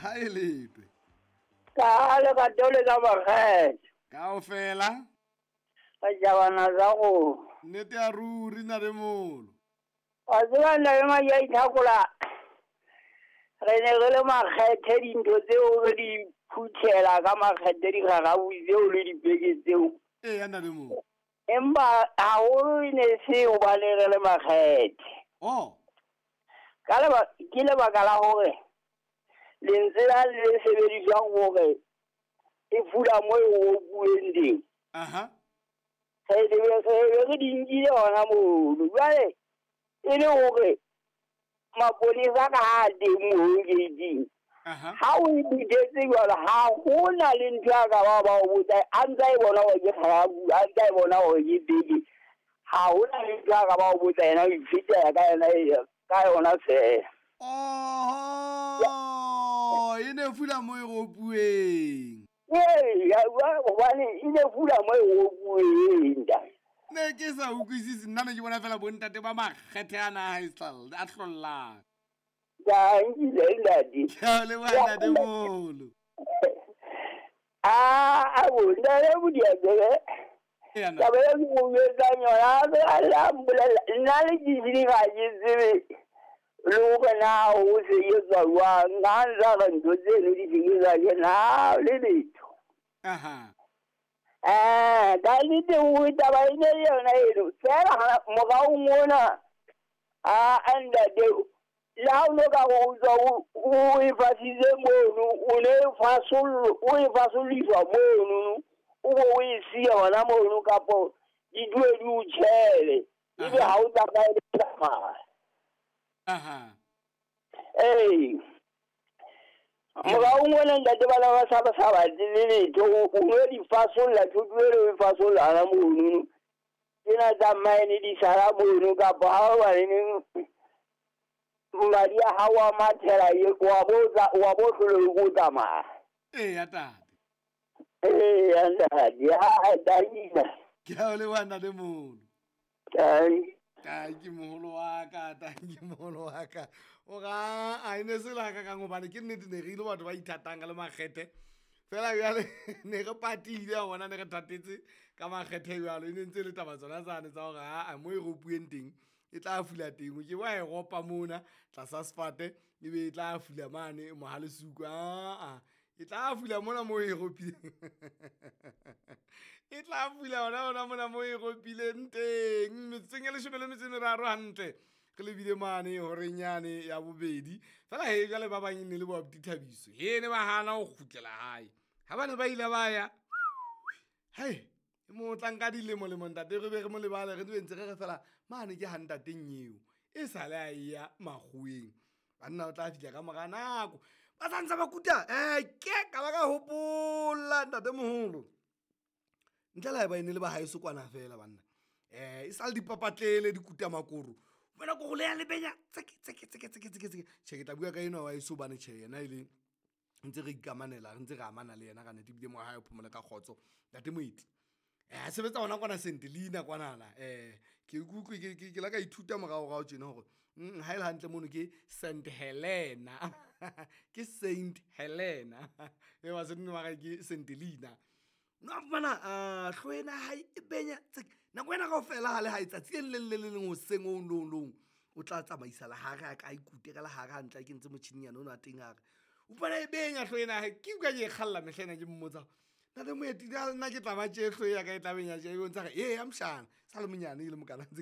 Ha e letwe. Ka le ka tole ka makgetho. Kaofela. Ka jabana tsa go. Nnete ya ruri ntatemolo. Wa tseba nna le madi a ithakola. Re ne re le makgethe dintho tseo re di phuthela ka makgethe digagabu tseo le dipeke tseo. Eya ntatemolo. Empa haholo e ne se hobane re le makgethe. Oh. Ka leba ke lebaka la hore lentswe la le sebediswang hore e fula mo e ropuweng teng. Aha. Re be re di nkile hona mono. Jwale e le hore maponesa ka ha teng moo gate-ing. Aha. Ha o e phuthetse jwalo ha hona le ntho ya ka ba o botsa a ntsa e bona hore ke kgarabu, a ntsa e bona hore ke beke. Ha hona le ntho ya ka ba o botsa yena o ifetela ka yona ka yona feela. Oho, e ne fula mo e ropuweng. Ee, hobane e ne fula mo e ropuweng ntate. Ne ke sa utlwisise nna ne ke bona fela bontate ba makgethe ana a haesale a hlollang. Dankile ntate. Ke a leboha ntatemolo. A bo ntate Modianyewe. Eya nna. Taba eo ke mo jwetsang yona a la mpolella nna le ke ehlile ha ke tsebe le hore na ho sebetswa jwang. Ha ntsa re ntho tseno di sebetswa ke nna le letho. Aha. Ka nnete o taba e ne le yona eno fela morao mona a ntate le ha o no ka re o tswa o e fasitse mono o ne o e fasolliswa mono o bo o e siya hona mono kapo di dule di o tjhele ebe ha o tsamaye le tsamaya. Aha. Ee. Morao mona ntate bana ba sa ba sa batle le letho o no di fasolla thoto eno o e fasolla hona mono. Tsena tsa mine di sala mono kapa ha o baneneng madi a hao a mathela wa bo hlole o tsamaya. Eya tate. Eya ntate, ha danki. Ke a o leboha ntatemolo. Danki. Tanki moholo wa ka, tanki moholo wa ka. O ga a ene se la ka kang hobane ke nnete ne re ile batho ba ithatang ka le makgethe. Fela jwale ne re patile a bona ne re thatetse ka makgethe jwalo e ne ntse le taba tsona tsane tsa hore a mo e ropuweng teng e tla fula teng. O ke wa e ropa mona tlasa sefate ebe e tla fula mane mohalesuku a e tla fula mona mo e ropileng. E tla fula hona mona mo e ropileng teng. Metsotsong e 13 hantle re lebile mane horeng yane ya bobedi. Fela he jwale ba bang e ne le bo abuti Thabiso. He ne ba hana ho kgutlela hae. Ha ba ne ba ile ba ya. Hei, e mo tlang ka dilemo lemo ntate re be re mo lebale re ntse re re fela mane ke ha ntateng eo. E sale a ya makgoweng. Banna o tla fihla ka mora nako. Ba sa ntse ba kuta ke ka ba ka hopola ntatemoholo. Ntle le ha eba e ne le ba haeso kwana fela banna. E sa le dipapatlele di kuta makoro. Wena ko go le ya lebenya tseke tseke tseke tseke tseke tseke. Tjhe ke tla bua ka enwa wa heso hobane tjhe yena e le ntse re ikamanela re ntse re amana le yena ka nnete ebile mo hae o phomole ka kgotso. Ntate Moeti. A sebetsa hona kwana St Helena kwanana. Ke ikutlwe ke la ka ithuta moraorao tjena hore ha e le hantle mono ke St Helena. Ke Saint Helena. E ba se nne ke St Helena. No fumana hloho ena ya hae e benya tsek. Nako ena kaofela ha le hae tsatsi le leng le le leng hoseng o long o tla tsamaisa lehare a ka ikute ka lehare hantle a kentse motjhininyana ona wa teng hare. O fumana e benya hloho ena ya hae. Ke utlwa ke e kgalla mehla ena ke mmotsa. Ntate Moeti nna ke tla ba tje hloho ya ka e tla benya tje. E bontsha hore eya mshana sa le monyane e le mokana ntse